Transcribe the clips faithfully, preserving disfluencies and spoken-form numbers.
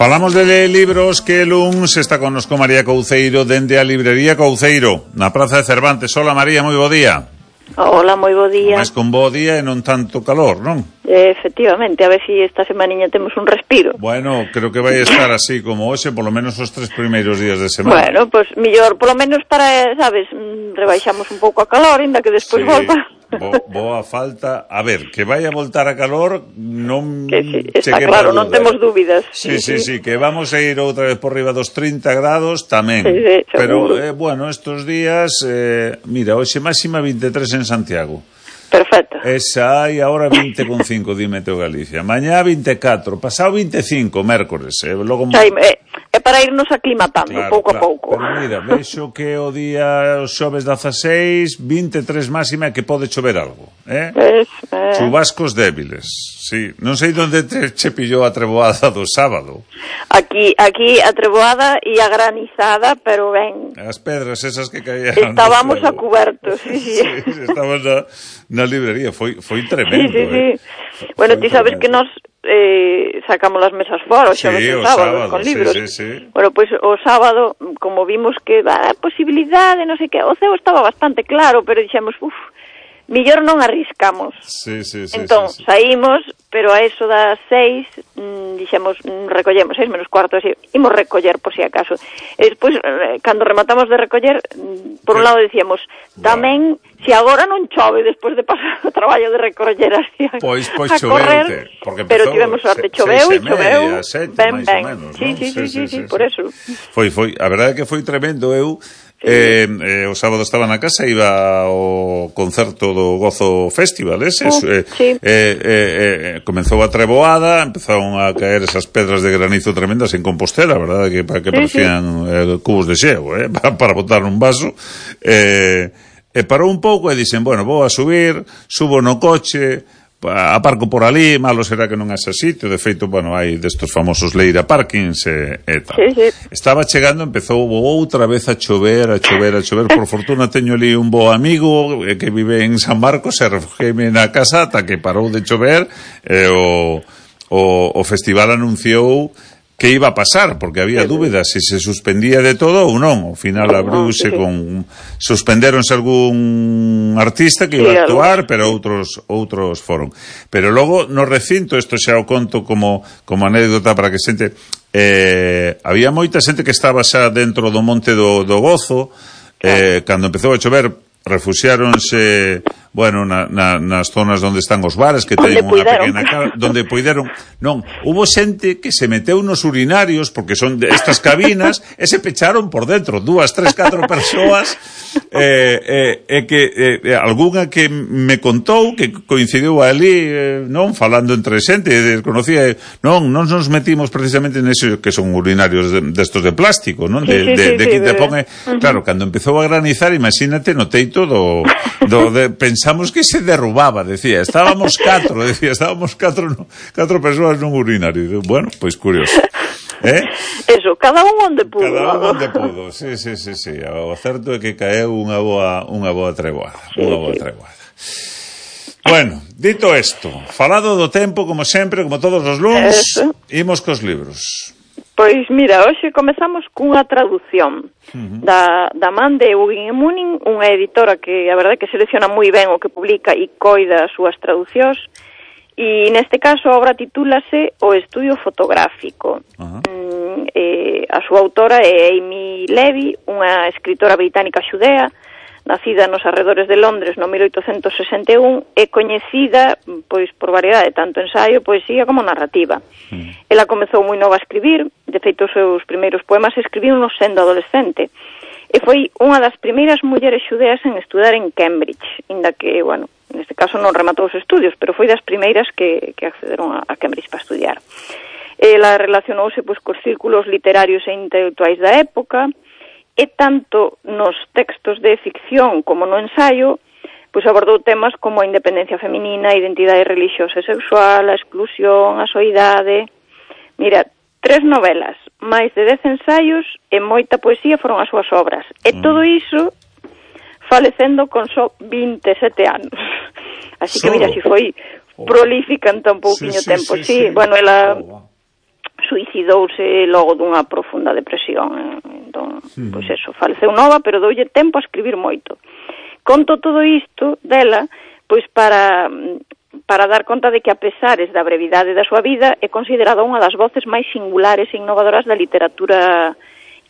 Falamos de libros que luns está connosco María Couceiro dende a librería Couceiro na Praza de Cervantes. Hola María, moi bo día. Hola, moi bo día. Mas con bo día e non tanto calor, non? Eh, efectivamente, a ver si esta semaniña temos un respiro. Bueno, creo que vai estar así como hoxe, polo menos os tres primeiros días de semana. Bueno, pois pues, millor, polo menos para, sabes, rebaixamos un pouco a calor, ainda que despois sí. volva. Bo, boa falta. A ver, que vai a voltar a calor, non... Que sí, está claro, non temos dúbidas. Sí, sí, sí, sí, que vamos a ir outra vez por riba dos trinta grados, tamén. Sí, sí, pero, eh, bueno, estos días, eh, mira, hoxe máxima vinte e tres en Santiago. Perfecto. Esa hai agora vinte con cinco, di Meteo Galicia. Mañá vinte e catro, pasado vinte e cinco, mércores. Eh, logo... Sai, eh, é para irnos aclimatando, claro, pouco claro. a pouco. Pero mira, vexo que o día os xoves dezaseis, vinte e tres máxima, que pode chover algo, eh? Es, eh... Chubascos débiles, sí. Non sei onde te che pillou a treboada do sábado. Aquí, aquí a treboada e a granizada, pero ben... As pedras esas que caían... Estábamos a cuberto, sí, sí. Sí, estábamos na, na librería, foi, foi tremendo, sí, sí, eh? sí. Bueno, ti sabes que nos eh, sacamos las mesas fora, o sí, xoves o sábado, sábado, con libros. Sí, sí, sí. Bueno, pois pues, o sábado, como vimos que a posibilidade, non sei que, o ceo estaba bastante claro, pero dixemos, uff, millor non arriscamos. Sí, sí, sí. Entón, sí, sí. saímos, pero a eso das seis, mmm, dixemos, mm, recollemos, seis menos cuarto, así, imos recoller por si acaso. E despois, eh, cando rematamos de recoller, mm, por un lado decíamos, tamén, bueno, se agora non chove despois de pasar o traballo de recoller así a, pois, pois a correr, porque pero tivemos sorte, choveu e choveu, sete, ben, ben, menos, sí, ¿no? sí, sí, sí, sí, sí, sí, por eso. Foi, foi, a verdade é que foi tremendo. Eu sí. eh, eh, o sábado estaba na casa, iba ao concerto do Gozo Festival, ese, uh, eh, sí. eh, eh, eh, comenzou a treboada, empezaron a caer esas pedras de granizo tremendas en Compostela, verdade, que, que sí, parecían sí. Eh, cubos de xeo, eh, para, para botar un vaso, eh, e parou un pouco e dixen, bueno, vou a subir, subo no coche, aparco por ali, malo será que non haxa sitio, de feito, bueno, hai destos famosos Leira Parkings e, e tal. Sí, sí. Estaba chegando, empezou outra vez a chover, a chover, a chover, por fortuna teño ali un bo amigo que vive en San Marcos e refugieme na casa ata que parou de chover e o, o, o festival anunciou que iba a pasar, porque había dúbidas se se suspendía de todo ou non. Ao final abriuse con... Suspendéronse algún artista que iba a actuar, pero outros outros foron. Pero logo, no recinto, isto xa o conto como, como anécdota para que xente... Eh, había moita xente que estaba xa dentro do Monte do, do Gozo, eh, cando empezou a chover, refuxiáronse, bueno, na, na, nas zonas onde están os bares, que teñen unha pequena cara, donde poideron, non, hubo xente que se meteu nos urinarios, porque son de estas cabinas, e se pecharon por dentro, dúas, tres, catro persoas, e eh, eh, que eh, algunha que me contou, que coincidiu ali, eh, non, falando entre xente, desconocía, non, non nos metimos precisamente neso, que son urinarios destos de, de plástico, non, de, sí, sí, de, sí, de sí, que te sí, pone, uh-huh. Claro, cando empezou a granizar, imagínate, no teito do, do de, pensamos que se derrubaba, decía, estábamos catro, decía, estábamos catro, no, catro persoas nun urinario. Bueno, pois curioso. Eh? Eso, cada un onde pudo. Cada un onde pudo, sí, sí, sí, sí. O certo é que caeu unha boa, unha boa treboada, sí, unha boa sí. treboada. Bueno, dito isto, falado do tempo, como sempre, como todos os luns, imos cos libros. Pois mira, hoxe comezamos cunha traducción uh-huh. da, da man de Eugene Munin, unha editora que a verdade que selecciona moi ben o que publica e coida as súas traducións, e neste caso a obra titúlase O Estudio Fotográfico. Uh-huh. Mm, eh, a súa autora é Amy Levy, unha escritora británica xudea, nacida nos arredores de Londres no mil oitocentos sesenta e un, e coñecida pois por variedade, tanto ensaio, poesía como narrativa. Mm. Ela comezou moi nova a escribir, de feito os seus primeiros poemas escribiu no sendo adolescente, e foi unha das primeiras mulleres xudeas en estudar en Cambridge, inda que, bueno, neste caso non rematou os estudios, pero foi das primeiras que, que accederon a, a Cambridge para estudiar. Ela relacionouse pois cos círculos literarios e intelectuais da época, e tanto nos textos de ficción como no ensaio, pois abordou temas como a independencia feminina, a identidade religiosa e sexual, a exclusión, a soidade. Mira, tres novelas, máis de dez ensaios e moita poesía foron as súas obras. E todo iso falecendo con só vinte e sete anos. Así que mira, si foi prolífica en tan pouquiño sí, sí, tempo. Sí, sí, sí. bueno, ela... Oh, wow. suicidouse logo dunha profunda depresión. Entón, mm. pois eso, faleceu nova, pero doulle tempo a escribir moito. Conto todo isto dela, pois para para dar conta de que, a pesares da brevidade da súa vida, é considerada unha das voces máis singulares e innovadoras da literatura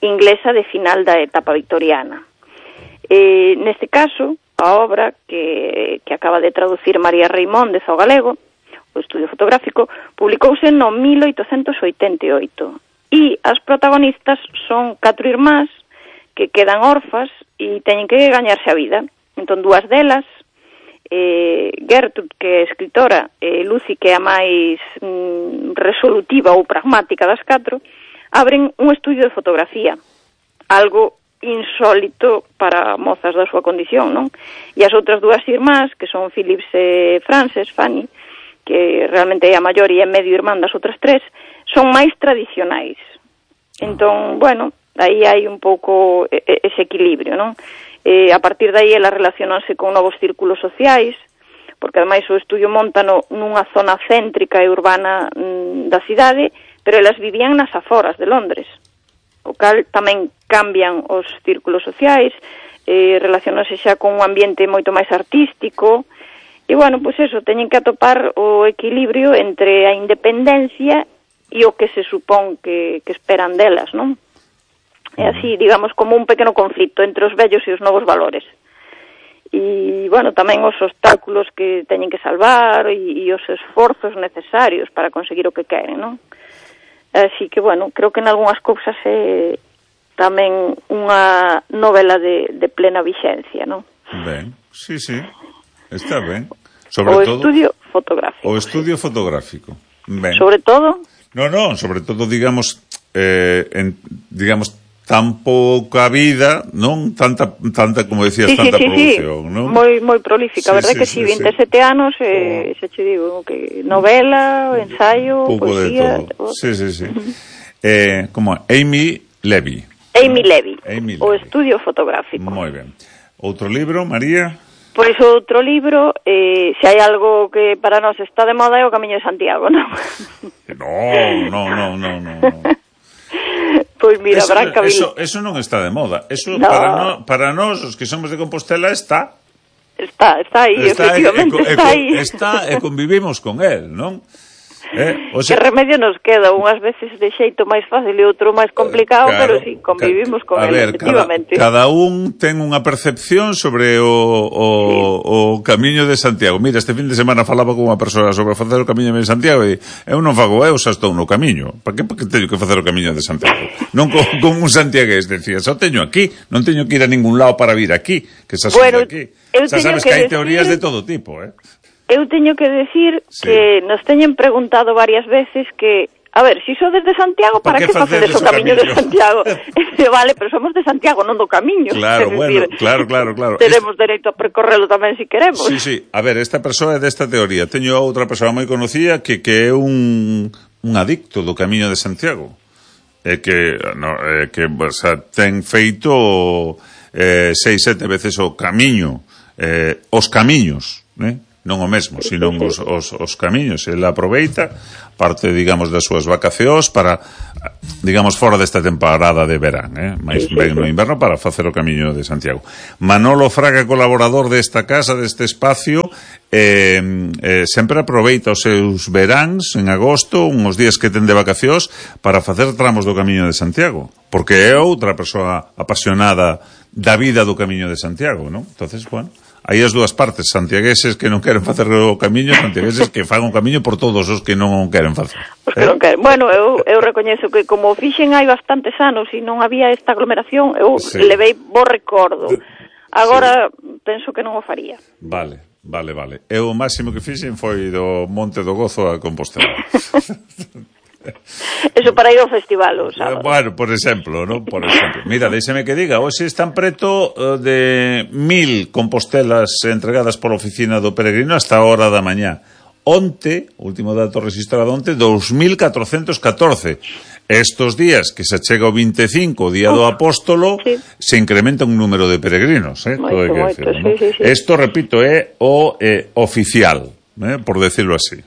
inglesa de final da etapa victoriana. E, neste caso, a obra que, que acaba de traducir María Reimóndez ao galego, o estudio fotográfico, publicouse no mil oitocentos oitenta e oito. E as protagonistas son catro irmás que quedan orfas e teñen que gañarse a vida. Entón, dúas delas, eh, Gertrude, que é escritora, e Lucy, que é a máis mm, resolutiva ou pragmática das catro, abren un estudio de fotografía, algo insólito para mozas da súa condición, non? E as outras dúas irmás, que son Phillips e Frances, Fanny, que realmente é a maior e é medio irmán das outras tres, son máis tradicionais. Entón, bueno, aí hai un pouco ese equilibrio, non? Eh, a partir de aí elas relacionanse con novos círculos sociais, porque ademais o estudio montano nunha zona céntrica e urbana mm, da cidade, pero elas vivían nas aforas de Londres, o cal tamén cambian os círculos sociais, eh, relacionanse xa con un ambiente moito máis artístico. E, bueno, pois eso, teñen que atopar o equilibrio entre a independencia e o que se supón que, que esperan delas, non? É así, digamos, como un pequeno conflito entre os vellos e os novos valores. E, bueno, tamén os obstáculos que teñen que salvar e, e os esforzos necesarios para conseguir o que queren, non? Así que, bueno, creo que en algunhas cousas é tamén unha novela de, de plena vixencia, non? Ben, sí, sí, está ben. Sobre o todo, estudio fotográfico. O estudio sí. fotográfico. Ben. Sobre todo? No, no, sobre todo, digamos, eh, en, digamos, tan pouca vida, non? Tanta, tanta como decías, sí, tanta sí, producción, sí. non? Moi, moi prolífica, sí, verdad sí, que sí, si, veintesete sí. anos, eh, oh. xa che digo, que novela, ensayo, pouco poesía... de todo. Sí, sí, sí. eh, como Amy Levy. Amy Levy, Amy o Levy. estudio fotográfico. Moi ben. Outro libro, María? Pois outro libro, eh, se hai algo que para nós está de moda é o Camiño de Santiago, non? No, no, no, no, no. Pois mira, eso, Branca Vil... Eso, eso non está de moda. Eso no. para, no, para nós, os que somos de Compostela, está... Está, está aí, está, efectivamente, e, e, está e, aí. Está e convivimos con él, non? Eh, o sea, que remedio nos queda, unhas veces de xeito máis fácil e outro máis complicado, claro, pero si, sí, convivimos con a él, ver, efectivamente. Cada, cada un ten unha percepción sobre o, o, sí. o Camiño de Santiago. Mira, este fin de semana falaba con unha persoa sobre facer o Camiño de Santiago e eu non fago, eu xa estou no camiño. Para que, que teño que facer o Camiño de Santiago? Non con, con un santiagués, decía, só teño aquí, non teño que ir a ningún lado para vir aquí, que xa son bueno, aquí. Xa sabes que, que hai decir... teorías de todo tipo, eh? Eu teño que decir sí. que nos teñen preguntado varias veces que, a ver, si sodes de Santiago, para que facedes o Camiño de Santiago? Vale, pero somos de Santiago, non do Camiño. Claro, bueno, decir, claro, claro, claro. Teremos Est... dereito a percorrelo tamén se si queremos. Sí, sí, a ver, esta persoa é desta teoría. Teño outra persoa moi conocida que, que é un, un adicto do Camiño de Santiago. É que, no, é que o sea, ten feito eh, seis, sete veces o camiño, eh, os camiños, né? Non o mesmo, sino os, os, os camiños. Ele aproveita parte, digamos, das súas vacacións para, digamos, fora desta temporada de verán, eh? máis ben no inverno, para facer o Camiño de Santiago. Manolo Fraga, colaborador desta casa, deste espacio, eh, eh, sempre aproveita os seus veráns en agosto, uns días que ten de vacacións, para facer tramos do Camiño de Santiago, porque é outra persoa apasionada da vida do Camiño de Santiago, non? Entonces, bueno, hai as dúas partes, santiagueses que non queren facer o camiño, santiagueses que fan o camiño por todos os que non queren facer. Os que eh? non queren. Bueno, eu, eu recoñezo que como fixen hai bastantes anos e non había esta aglomeración, eu sí. levei bo recordo. Agora sí. penso que non o faría. Vale, vale, vale. Eu o máximo que fixen foi do Monte do Gozo a Compostela. Eso para ir ao festival, o sábado. Bueno, por exemplo, ¿no? Por exemplo. Mira, déxeme que diga, hoxe están preto de mil compostelas entregadas pola oficina do peregrino hasta a hora da mañá. Onte, último dato registrado onte, dos mil catrocentos catorce. Estos días que se chega o vinte e cinco, o día do apóstolo, sí. se incrementa un número de peregrinos, eh? Moito, que moito, decir, sí, ¿no? sí, sí. Esto, repito, é o eh, oficial, eh? por decirlo así.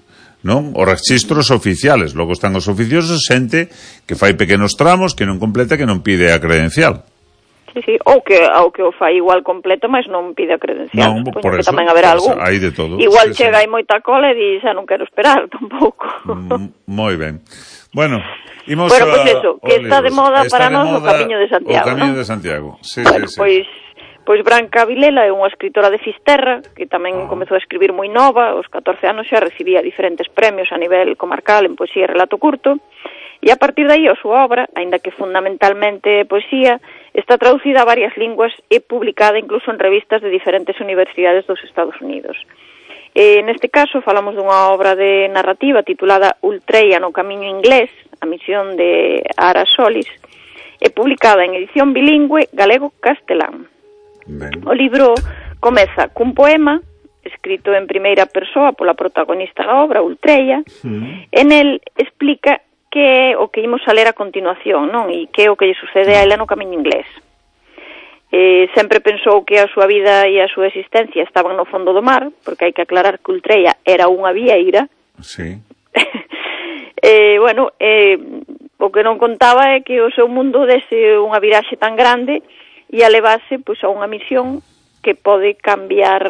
non? Os registros oficiales. Logo están os oficiosos, xente que fai pequenos tramos, que non completa, que non pide a credencial. Sí, sí, ou que, ou que o fai igual completo, mas non pide a credencial. Non, por que eso, tamén haberá algún. Hai de todo. Igual sí, chega sí. aí moita cola e di, xa non quero esperar tampouco. Mm, moi ben. Bueno, imos bueno, a, pois eso, que está de moda está para de nós moda o Camiño de Santiago, O Camiño ¿no? de Santiago, sí, bueno, sí, sí. Pois, pois Branca Vilela é unha escritora de Fisterra, que tamén ah. comezou a escribir moi nova, aos catorce anos xa recibía diferentes premios a nivel comarcal en poesía e relato curto, e a partir de aí a súa obra, aínda que fundamentalmente poesía, está traducida a varias linguas e publicada incluso en revistas de diferentes universidades dos Estados Unidos. E, neste caso, falamos dunha obra de narrativa titulada Ultreia no Camiño Inglés, a misión de Ara Solis, e publicada en edición bilingüe galego-castelán. Ben. O libro comeza cun poema escrito en primeira persoa pola protagonista da obra, Ultreia, mm. e nel explica que é o que imos a ler a continuación, non? E que é o que lle sucede a ela no Camiño Inglés. Eh, sempre pensou que a súa vida e a súa existencia estaban no fondo do mar, porque hai que aclarar que Ultreia era unha vieira. Sí. eh, bueno, eh, o que non contaba é que o seu mundo dese unha viraxe tan grande e a levase pois, a unha misión que pode cambiar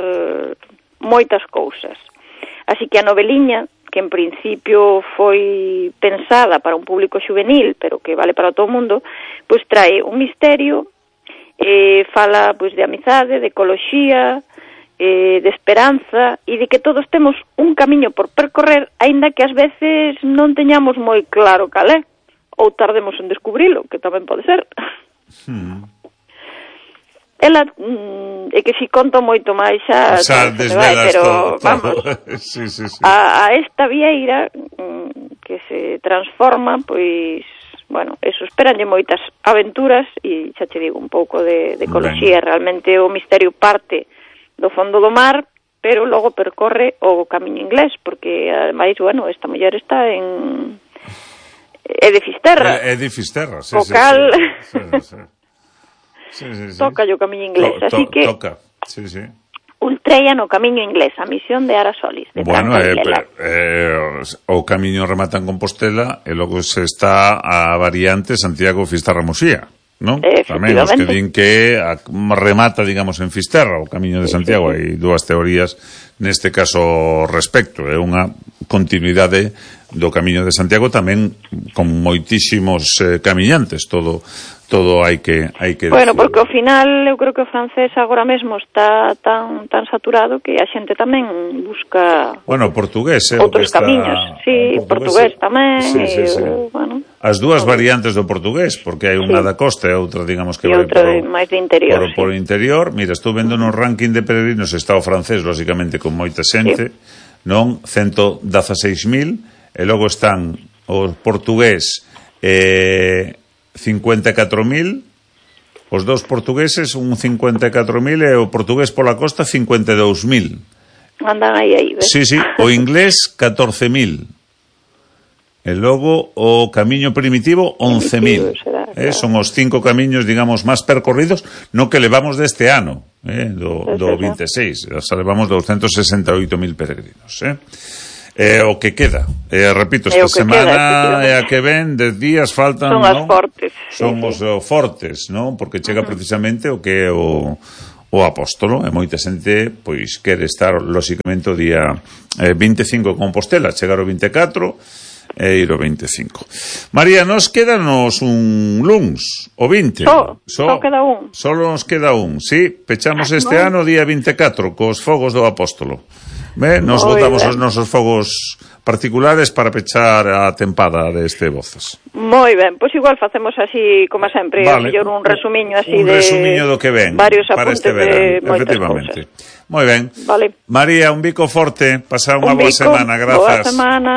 moitas cousas. Así que a noveliña, que en principio foi pensada para un público juvenil, pero que vale para todo o mundo, pois trae un misterio, eh, fala pois de amizade, de ecoloxía, eh, de esperanza e de que todos temos un camiño por percorrer, aínda que ás veces non teñamos moi claro cal é, ou tardemos en descubrilo, que tamén pode ser. Hmm. Ela, mm, é que si conto moito máis xa, xa desvelas pero todo, vamos, sí, sí, sí. A, a esta vieira mm, que se transforma, pois, bueno, eso, esperanlle moitas aventuras e xa te digo un pouco de, de ecoloxía, ben. Realmente o misterio parte do fondo do mar, pero logo percorre o Camiño Inglés, porque ademais, bueno, esta muller está en é de Fisterra. É, é de Fisterra, sí, o sí, cal... sí, sí, sí. Sí, sí, sí. Toca o Camiño Inglés, to, to, así que toca. Sí, sí. Ultreia no Camiño Inglés, a misión de Ara Solis, de bueno, Branca eh, Vilela. eh, o camiño remata en Compostela e logo se está a variante Santiago Fisterra Muxía, non? Tamén os que din que a, remata, digamos, en Fisterra o Camiño de Santiago, hai sí, sí. dúas teorías neste caso respecto, é unha continuidade do Camiño de Santiago tamén con moitísimos eh, camiñantes, todo todo hai que hai que Bueno, porque ao final eu creo que o francés agora mesmo está tan tan saturado que a xente tamén busca Bueno, portugués, eh, outros está, camiños. Sí, portugués, portugués tamén, sí, sí, sí. Eu, bueno, as dúas variantes do portugués, porque hai unha sí. da costa e outra, digamos, que e vai outra por, máis de interior, por, sí. por interior. Mira, estou vendo no ranking de peregrinos está o francés, lógicamente, con moita xente, sí. non? ciento dieciséis mil, e logo están o portugués eh, cincuenta e catro mil, os dous portugueses un cincuenta e catro mil e o portugués pola costa cincuenta e dous mil. Andan aí, aí, ves? Sí, sí, o inglés catorce mil. E logo o camiño primitivo once mil. Eh, son os cinco camiños, digamos, máis percorridos no que levamos deste ano, eh, do, do vinte e seis. Xa levamos doscientos sesenta e oito mil peregrinos, eh. É o que queda. Eh, repito, esta semana é a que ven, dez días faltan, son as fortes. Son sí, os sí. fortes, non? Porque chega uh-huh. precisamente o que é o, o apóstolo, e moita xente pois quere estar lóxicamente o día eh, vinte e cinco en Compostela, chegar o vinte e catro e ir o vinte e cinco. María, nos quedanos un luns, o vinte. Só, so, só queda un. Solo nos queda un, sí. Pechamos este no. ano día vinte e catro cos fogos do apóstolo. Ben, nos Muy botamos ben. Os nosos fogos particulares para pechar a tempada deste Voces. Moi ben, pois igual facemos así como sempre, vale. A un resumiño así un de resumiño do que ven varios para este verano, de efectivamente. Moi ben. Vale. María, un bico forte, pasa unha un boa bico, semana, grazas. Boa semana.